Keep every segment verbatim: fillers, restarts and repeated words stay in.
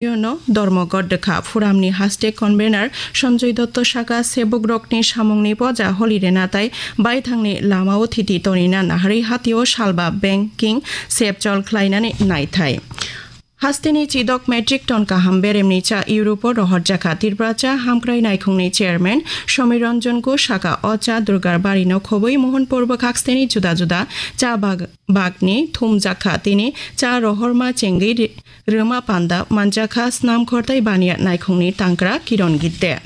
Yono Dharmaghat Dwkha Forum ni haste convener Sanjoy Dotto saka, sebukrokni samungni poja holi rena tai baithangni lamao thiti tonina naharwi hatio salba banking sep chol khlainani naithai. Hasteni chidok metric ton kaham beremni cha Europe-o rohorjakha. Tripura cha hamkrai naikhungni chairman Somir Ranjan Ghosh saka, o cha Durgar barino khobwi Mohanpur bwkhaksteni juda juda cha bag-, bagni thumjakha. Tini cha rohorma chengwi ri-, rwma panda manjakha snam khortai baniya naikhungni tangkra Kiron Gidde.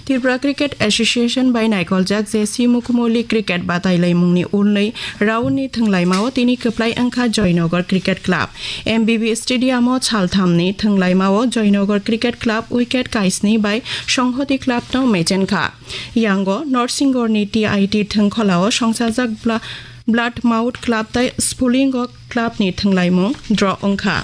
Tripura Cricket Association bai naikoljak J C Mukumoli cricket batailaimungni ulnwi round ni thwnglaimao tini kwplai wngkha Joynagar Cricket Club. M B B Stadium o salthamni thwnglaimao Joynagar Cricket Club wicket kaisni bai Songhoti Club no mechenkha. Yango North Singhor ni T I T thwngkholao songchajak Bla-, Bloodmouth Club tai Spulingo club ni thwnglaimung draw wngkha.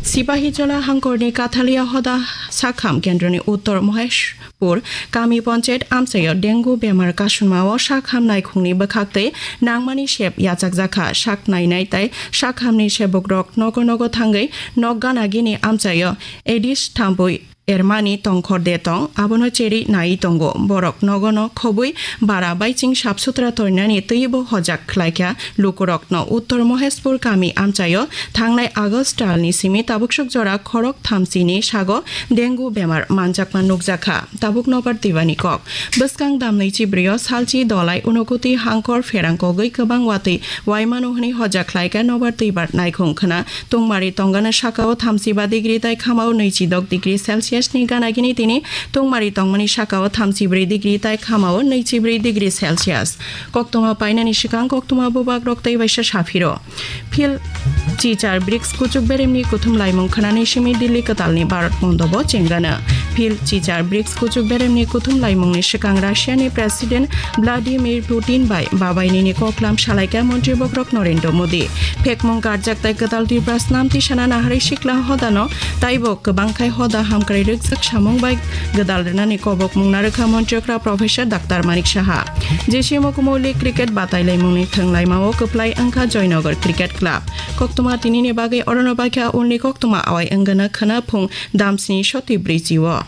Sipahijola hangkorni Kathalia hoda sakham kendroni uttor Moheshpur kami panchayat amchaio dengue bemar kasunmao sakham naikhungni bwkhaktwi nangmani sep yachakjakha. Sak nainai tai sakhamni sebukrok nogo nogo thangwi nok gana gini amchaio Aedes thampui ermani tongkhor de tong, abono cheri nai tongo. Borok nogono khobwi bara baiching sap sutra torinani twibo hojak khlaikha. Lukurokno Uttor Moheshpur kami amchaio thangnai August talni simi tabuksuk jora khorok thamsini sago dengue bemar manjakma nukjakha. Tabuk nobar twibani kok. Bwskang damnwi chibrio salchi dolai Unokoti hangkor pherang kogwi kwbang watwi waimano hwnwi hojak khlaikha nobar twibar naikhung khna. Tungmari tongana sakao thamsiba degree tai khamao nwichidok degree Celsius ni gana gini tini tungmari tongmani sakao thamsibri degree tai khamao nwichibri degree Celsius. Koktwma painani swkang koktwma bubagrok tei waisa saphiro. Phil chichar brics kuchuk beremni kuthum laimung khnani simi Delhi kwtalni Bharat mondobo chengana. Phil chichar brics kuchuk beremni kuthum laimungni swkang Russia ni President Vladimir Putin bai babainini koklam salaikha montri bokrok Narendra Modi. Phekmung karjak tai kwtal Tripura snam tisana naharwi sikla hodano taibo kwbangkhai hoda hamkrai rwkjak samung bai gwdal rwnani kobokmung narwkha montri okra Professor Doctor Manik Saha. J C Mukumoli cricket batailaimungni thwnglaimao kwplai wngkha Joynagar Cricket Club. Koktwma tinini bagwi orono baikha, ulni koktwma awai wngana khwna phung damsni soti brwichi o.